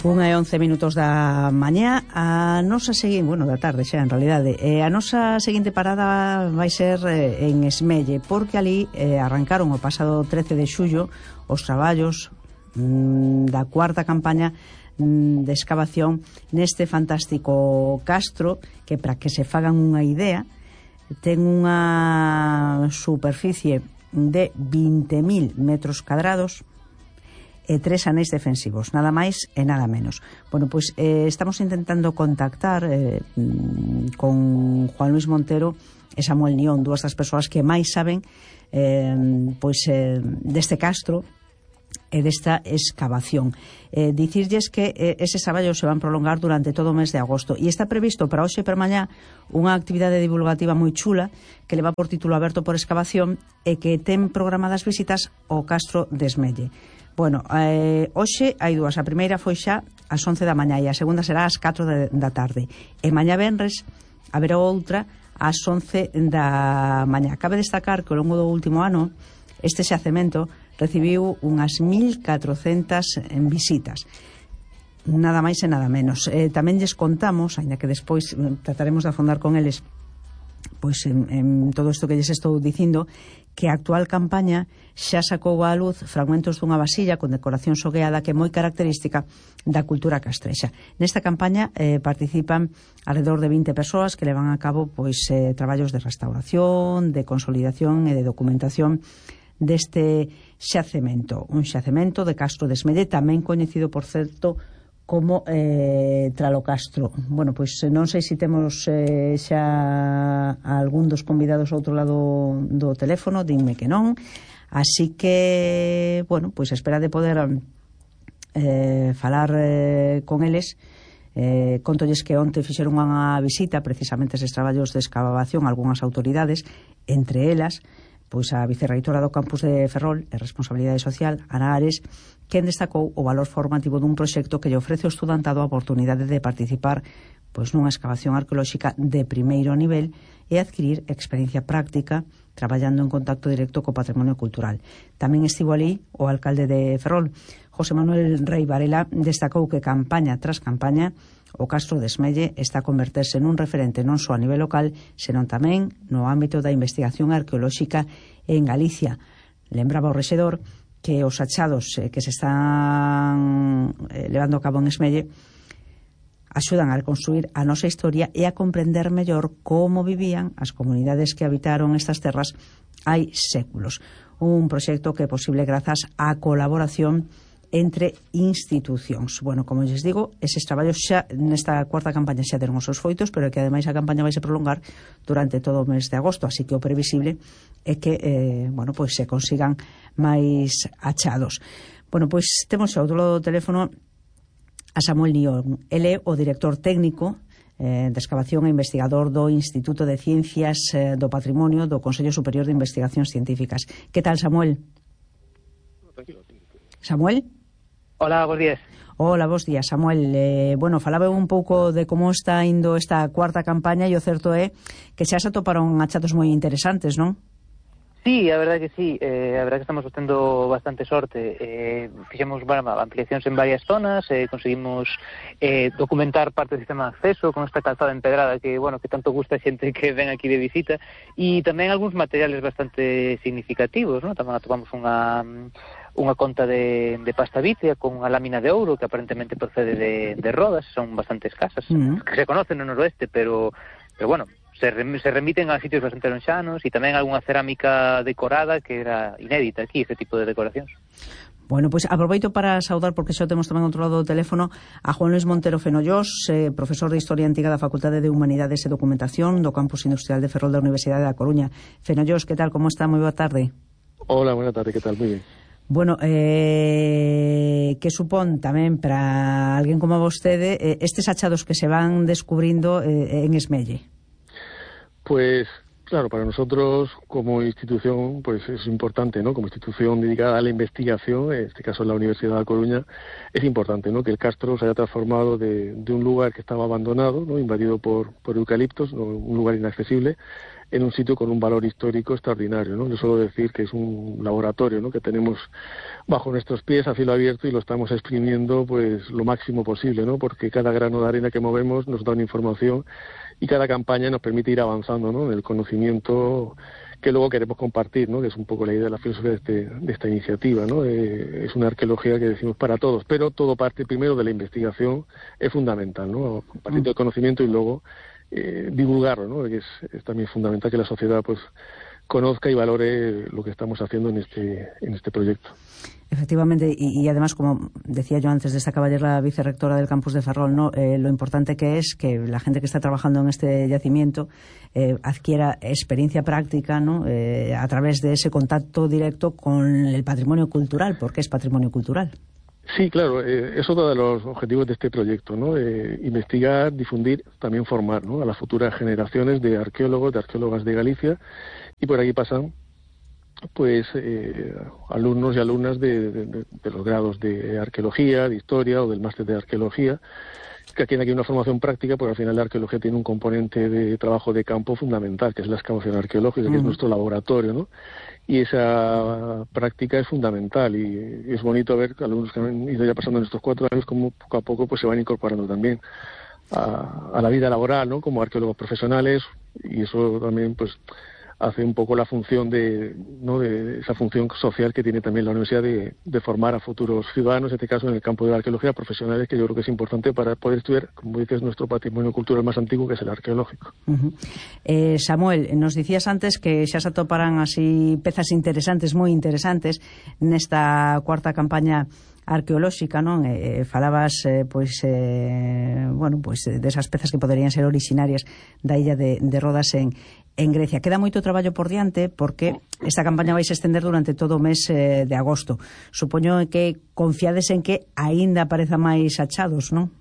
1:11 da mañá. A nosa seguinte, da tarde xa en realidade, a nosa seguinte parada vai ser en Esmelle, porque ali arrancaron o pasado 13 de xullo os traballos da cuarta campaña de excavación neste fantástico castro, que para que se fagan unha idea ten unha superficie de 20.000 metros cadrados e 3 anéis defensivos, nada máis e nada menos. Bueno, pois estamos intentando contactar con Juan Luis Montero e Samuel Nión, dúas das persoas que máis saben deste castro e desta excavación. Dicirlles que eses traballos se van prolongar durante todo o mes de agosto e está previsto para hoxe e para mañá unha actividade divulgativa moi chula que leva por título Aberto por Excavación e que ten programadas visitas ao castro de Esmelle. Bueno, hoxe hai dúas. A primeira foi xa ás 11 da mañá e a segunda será ás 4 da tarde. E mañá venres haberá outra ás 11 da mañá. Cabe destacar que ao longo do último ano este xacemento recibiu unhas 1.400 visitas. Nada máis e nada menos. Tamén lles contamos, aínda que despois trataremos de afondar con eles pois en todo isto que lles estou dicindo, que a actual campaña xa sacou á luz fragmentos dunha vasilla con decoración sogueada que é moi característica da cultura castrexa. Nesta campaña participan alrededor de 20 persoas que levan a cabo traballos de restauración, de consolidación e de documentación deste xacemento, un xacemento de Castro de Esmelle, tamén coñecido, por certo, como Tralocastro. Bueno, pois non sei se temos xa algún dos convidados ao outro lado do teléfono, dinme que non, así que, bueno, pois espera de poder falar con eles. Contolles que onte fixeron unha visita precisamente eses traballos de excavación a algunhas autoridades, entre elas pois a vicerreitora do campus de Ferrol e Responsabilidade Social, Ana Ares, quen destacou o valor formativo dun proxecto que lle ofrece ao estudantado a oportunidade de participar nunha excavación arqueolóxica de primeiro nivel e adquirir experiencia práctica traballando en contacto directo co patrimonio cultural. Tamén estivo ali o alcalde de Ferrol, José Manuel Rei Varela, destacou que campaña tras campaña o Castro de Esmelle está a converterse nun referente non só a nivel local, senón tamén no ámbito da investigación arqueolóxica en Galicia. Lembraba o rexedor que os achados que se están levando a cabo en Esmelle axudan a reconstruir a nosa historia e a comprender mellor como vivían as comunidades que habitaron estas terras hai séculos. Un proxecto que é posible grazas á colaboración entre institucións. Bueno, como lles digo, eses traballos xa nesta cuarta campaña xa deron os seus foitos, pero que ademais a campaña vai se prolongar durante todo o mes de agosto, así que o previsible é que se consigan máis achados. Bueno, pois temos ao outro lado do teléfono a Samuel Nión. Ele é o director técnico de excavación e investigador do Instituto de Ciencias do Patrimonio do Consello Superior de Investigacións Científicas. Que tal, Samuel? Samuel? Hola, bons días. Hola, bons días, Samuel. Falaba un pouco de como está indo esta cuarta campaña e o certo é que xa se atoparon achados moi interesantes, non? Sí, a verdade que sí. A verdade que estamos tendo bastante sorte. Fixemos ampliacións en varias zonas, conseguimos documentar parte do sistema de acceso con esta calzada empedrada que tanto gusta a xente que ven aquí de visita, e tamén algúns materiales bastante significativos, non? Tamén atopamos unha conta de pasta vítea con unha lámina de ouro que aparentemente procede de Rodas, son bastante escasas, que se conocen no noroeste, pero se remiten a sitios bastante lonxanos, e tamén algunha cerámica decorada que era inédita aquí, este tipo de decoracións. Bueno, pois aproveito para saudar, porque xa temos tamén outro lado do teléfono, a Juan Luis Montero Fenollós, profesor de Historia Antiga da Facultade de Humanidades e Documentación do Campus Industrial de Ferrol da Universidade da Coruña. Fenollós, que tal, como está? Moi boa tarde. Hola, buena tarde, que tal? Moi ben. Bueno, que supón tamén para alguén como vostede estes achados que se van descubrindo en Esmelle? Pues claro, para nosotros como institución pues es importante, ¿no? Como institución dedicada a la investigación, en este caso en la Universidad de La Coruña, es importante, ¿no? Que el castro se haya transformado de un lugar que estaba abandonado, ¿no? Invadido por eucaliptos, ¿no? Un lugar inaccesible, en un sitio con un valor histórico extraordinario, ¿no? Yo suelo decir que es un laboratorio, ¿no?, que tenemos bajo nuestros pies a cielo abierto y lo estamos exprimiendo pues lo máximo posible, ¿no?, porque cada grano de arena que movemos nos da una información y cada campaña nos permite ir avanzando, ¿no?, en el conocimiento que luego queremos compartir, ¿no?, que es un poco la idea de la filosofía de esta iniciativa, ¿no? Es una arqueología que decimos para todos, pero todo parte primero de la investigación, es fundamental, ¿no?, compartir el conocimiento y luego divulgarlo, ¿no?, que es también fundamental que la sociedad pues conozca y valore lo que estamos haciendo en este proyecto. Efectivamente, y además, como decía yo antes, destacaba ayer la vicerrectora del campus de Ferrol, ¿no?, lo importante que es que la gente que está trabajando en este yacimiento adquiera experiencia práctica, ¿no?, a través de ese contacto directo con el patrimonio cultural, porque es patrimonio cultural. Sí, claro, es otro de los objetivos de este proyecto, ¿no? Investigar, difundir, también formar, ¿no?, a las futuras generaciones de arqueólogos, de arqueólogas de Galicia, y por aquí pasan pues alumnos y alumnas de los grados de arqueología, de historia o del máster de arqueología, que tienen aquí una formación práctica, porque al final la arqueología tiene un componente de trabajo de campo fundamental, que es la excavación arqueológica, que es nuestro laboratorio, ¿no? Y esa práctica es fundamental, y es bonito ver que alumnos que han ido ya pasando en estos 4 años como poco a poco pues se van incorporando también a la vida laboral, ¿no?, como arqueólogos profesionales, y eso también pues hace un poco la función de esa función social que tiene también la universidad de formar a futuros ciudadanos, en este caso en el campo de la arqueología, profesionales, que yo creo que es importante para poder estudiar, como dices, nuestro patrimonio cultural más antiguo, que es el arqueológico. Samuel, nos dicías antes que xa se atoparán así pezas interesantes, moi interesantes, nesta cuarta campaña arqueolóxica, non? Falabas desas pezas que poderían ser orixinarias da illa de Rodas en Grecia. Queda moito traballo por diante porque esta campaña vai se estender durante todo o mes de agosto. Supoño que confiades en que aínda apareza máis achados, non?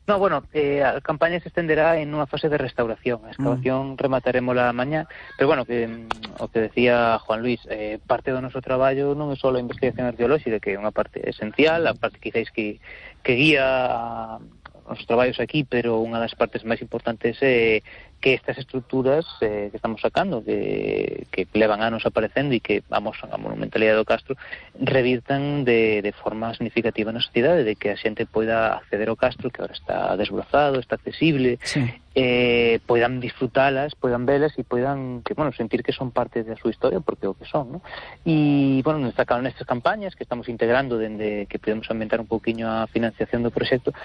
No, bueno, a campaña se estenderá en unha fase de restauración. A excavación rematarémola mañá, pero bueno, o que decía Juan Luis, parte do noso traballo non é só a investigación arqueolóxica, que é unha parte esencial, a parte quizáis que guía os traballos aquí, pero unha das partes máis importantes é que estas estruturas que estamos sacando, que levan anos aparecendo e que vamos a monumentalidade do Castro, revirtan de forma significativa na sociedade, de que a xente poida acceder ao Castro, que agora está desbrozado, está accesible, sí. Poidan disfrutalas, poidan velas e poidan sentir que son parte da súa historia, porque é o que son, ¿no? E, nestas campañas que estamos integrando dende que podemos ambientar un pouquiño a financiación do proxecto,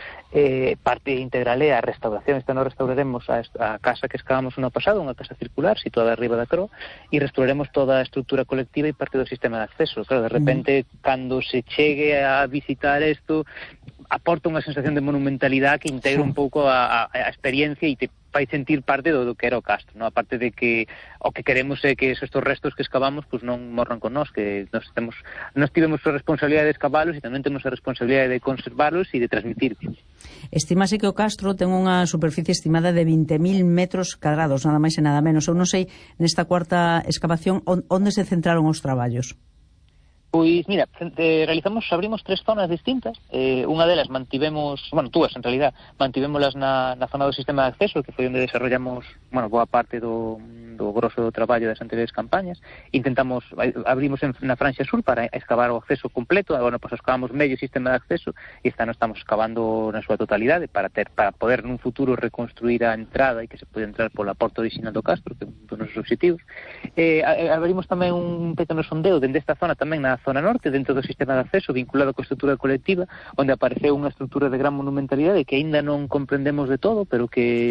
parte integral é a restauración. Esta non restauraremos a casa que excavamos no pasado, unha casa circular situada arriba da Croa, e restauraremos toda a estrutura colectiva e parte do sistema de acceso. Claro, de repente, cando se chegue a visitar isto, aporta unha sensación de monumentalidade que integra un pouco a experiencia e te fai sentir parte do que era o Castro, ¿no? Aparte de que o que queremos é que estes restos que excavamos pues non morran con nós, que nós tivemos a responsabilidade de excavalos e tamén temos a responsabilidade de conservarlos e de transmitirlos. Estimase que o Castro ten unha superficie estimada de 20.000 metros cadrados, nada máis e nada menos. Eu non sei, nesta cuarta excavación, onde se centraron os traballos? Pois, mira, abrimos 3 zonas distintas. Unha delas dúas en realidad, mantivémolas na zona do sistema de acceso, que foi onde desarrollamos, boa parte do grosso do traballo das anteriores campañas. Abrimos na Franxa Sur para excavar o acceso completo. Agora, excavamos medio sistema de acceso e esta non estamos excavando na súa totalidade para poder nun futuro reconstruir a entrada e que se pode entrar pola porta original do Castro, que é un dos nosos obxectivos. Abrimos tamén un pequeno sondeo dende esta zona tamén na zona norte, dentro do sistema de acceso vinculado coa estrutura colectiva, onde apareceu unha estrutura de gran monumentalidade que aínda non comprendemos de todo, pero que,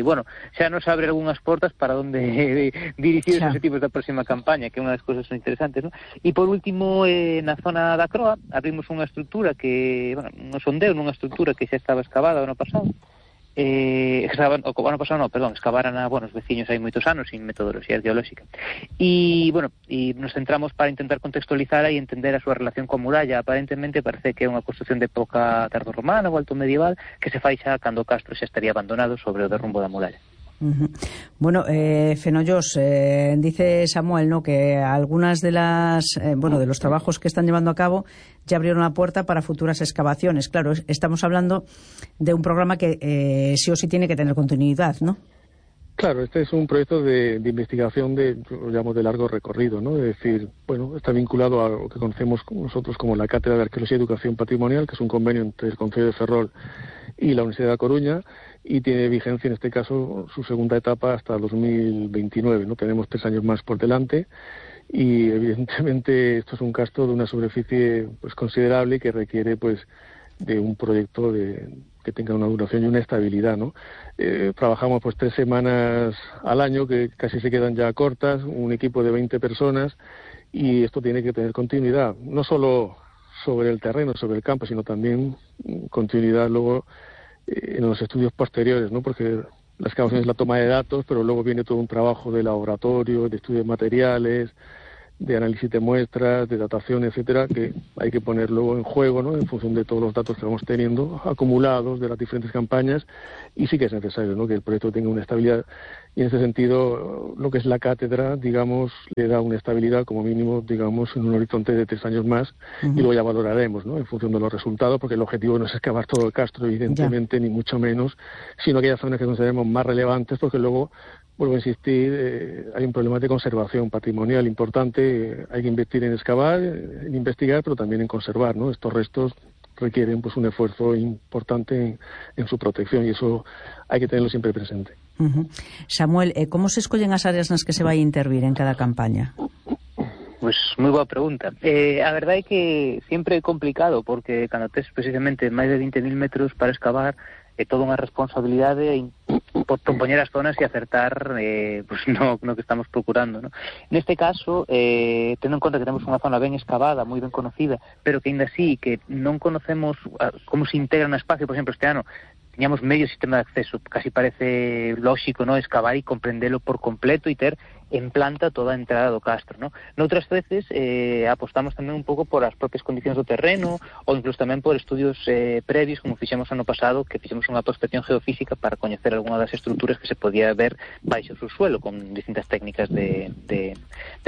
xa nos abre algunhas portas para onde dirigir os objetivos da próxima campaña, que é unha das cousas interesantes, ¿no? E por último, na zona da Croa, abrimos unha estrutura que, un sondeo nunha estrutura que xa estaba excavada o ano pasado, excavaran os veciños hai moitos anos sin metodoloxía arqueolóxica e nos centramos para intentar contextualizar e entender a súa relación coa muralla. Aparentemente parece que é unha construcción de época tardorromana ou alto medieval que se fai xa cando o Castro xa estaría abandonado sobre o derrumbo da muralla. Fenollos, dice Samuel, ¿no?, que algunas de de los trabajos que están llevando a cabo ya abrieron la puerta para futuras excavaciones. Claro, estamos hablando de un programa que sí o sí tiene que tener continuidad, ¿no? Claro, este es un proyecto de investigación lo llamo de largo recorrido, ¿no? Es decir, bueno, está vinculado a lo que conocemos nosotros como la Cátedra de Arqueología y Educación Patrimonial, que es un convenio entre el Concello de Ferrol y la Universidad de A Coruña, y tiene vigencia, en este caso, su segunda etapa hasta 2029, ¿no? Tenemos 3 años más por delante, y evidentemente esto es un castro de una superficie pues considerable que requiere pues de un proyecto que tenga una duración y una estabilidad, ¿no? Trabajamos pues 3 semanas al año, que casi se quedan ya cortas, un equipo de 20 personas, y esto tiene que tener continuidad, no solo sobre el terreno, sobre el campo, sino también continuidad luego en los estudios posteriores, ¿no? Porque la excavación es la toma de datos, pero luego viene todo un trabajo de laboratorio, de estudios de materiales, de análisis de muestras, de datación, etcétera, que hay que poner luego en juego, ¿no? En función de todos los datos que vamos teniendo acumulados de las diferentes campañas, y sí que es necesario, ¿no? Que el proyecto tenga una estabilidad, y en ese sentido lo que es la cátedra, digamos, le da una estabilidad como mínimo, digamos, en un horizonte de 3 años más, y luego ya valoraremos, ¿no? En función de los resultados, porque el objetivo no es excavar todo el castro, evidentemente, ni mucho menos, sino aquellas zonas que consideremos más relevantes, porque luego, vuelvo a insistir, hay un problema de conservación patrimonial importante, hay que invertir en excavar, en investigar, pero también en conservar, ¿no? Estos restos requieren pues un esfuerzo importante en su protección, y eso hay que tenerlo siempre presente. Samuel, como se escollen as áreas nas que se vai intervir en cada campaña? Pois moi boa pregunta. A verdade é que sempre é complicado, porque cando tes precisamente máis de 20.000 metros para excavar, é toda unha responsabilidade por poñer as zonas e acertar pues no que estamos procurando, ¿no? Neste caso, tendo en conta que temos unha zona ben excavada, moi ben conocida, pero que ainda así que non conocemos como se integra no espacio. Por exemplo, este ano tiñamos medio sistema de acceso, casi parece lógico, ¿no? Excavar e comprendelo por completo e ter en planta toda a entrada do castro, ¿no? Noutras veces apostamos tamén un pouco por as propias condicións do terreno, ou incluso tamén por estudios previos, como fixemos ano pasado, que fixemos unha prospección geofísica para coñecer algunha das estruturas que se podía ver baixo o subsuelo, con distintas técnicas de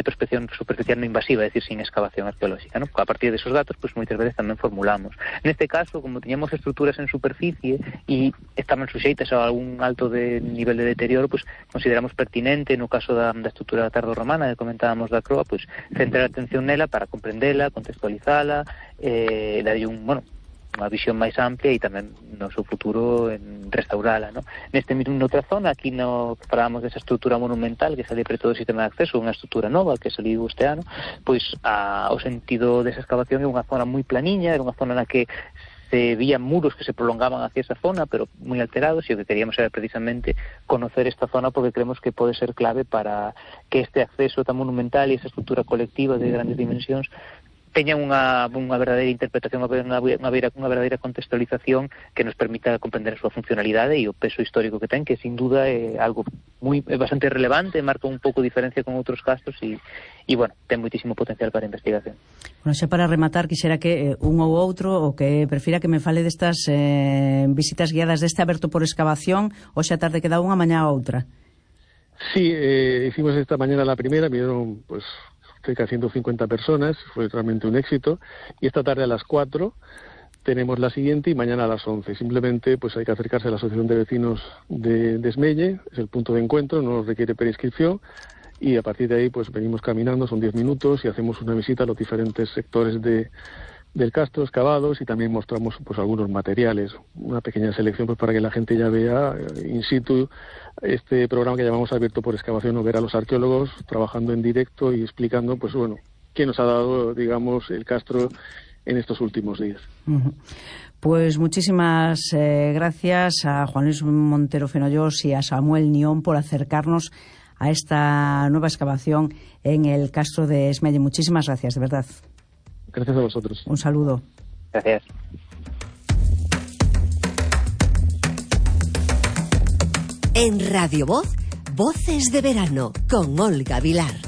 prospección superficial non invasiva, é dicir, sin excavación arqueolóxica, ¿no? A partir de esos datos, pues moitas veces tamén formulamos. Neste caso, como tiñamos estruturas en superficie e estaban suxeitas a algún alto nivel de deterioro, pues consideramos pertinente, no caso da estrutura tardorromana que comentábamos da Croa, pues centrar a atención nela para comprendela, contextualizala, darlle unha visión máis amplia e tamén no seu futuro en restaurala, ¿no? Noutra zona, aquí no que falábamos desa estrutura monumental que sale preto do sistema de acceso, unha estrutura nova que saliu este ano, pois o sentido desa excavación é unha zona moi planiña, era unha zona na que se vían muros que se prolongaban hacia esa zona, pero moi alterados, e o que queríamos era precisamente conocer esta zona, porque creemos que pode ser clave para que este acceso tan monumental e esa estrutura colectiva de grandes dimensións teñan unha verdadeira interpretación, unha verdadeira contextualización que nos permita comprender a súa funcionalidade e o peso histórico que ten, que sin duda é algo bastante relevante, marca un pouco diferencia con outros castros e bueno, ten moitísimo potencial para a investigación. Bueno, xa para rematar, quixera que un ou outro, o que prefira que me fale destas visitas guiadas deste aberto por excavación, ou xa tarde queda unha, mañá outra. Sí, hicimos esta mañana la primera, vinieron pues cerca de 150 personas, fue realmente un éxito, y esta tarde a las 4 tenemos la siguiente y mañana a las 11. Simplemente pues hay que acercarse a la Asociación de Vecinos de Esmelle, es el punto de encuentro, no requiere preinscripción, y a partir de ahí pues venimos caminando, son 10 minutos y hacemos una visita a los diferentes sectores del castro excavados, y también mostramos pues algunos materiales, una pequeña selección pues para que la gente ya vea in situ este programa que llamamos Abierto por Excavación, o ver a los arqueólogos trabajando en directo y explicando pues bueno qué nos ha dado, digamos, el castro en estos últimos días. Pues muchísimas gracias a Juan Luis Montero Fenollos y a Samuel Nión por acercarnos a esta nueva excavación en el castro de Esmelle. Muchísimas gracias, de verdad. Gracias a vosotros. Un saludo. Gracias. En Radio Voz, Voces de Verano, con Olga Vilar.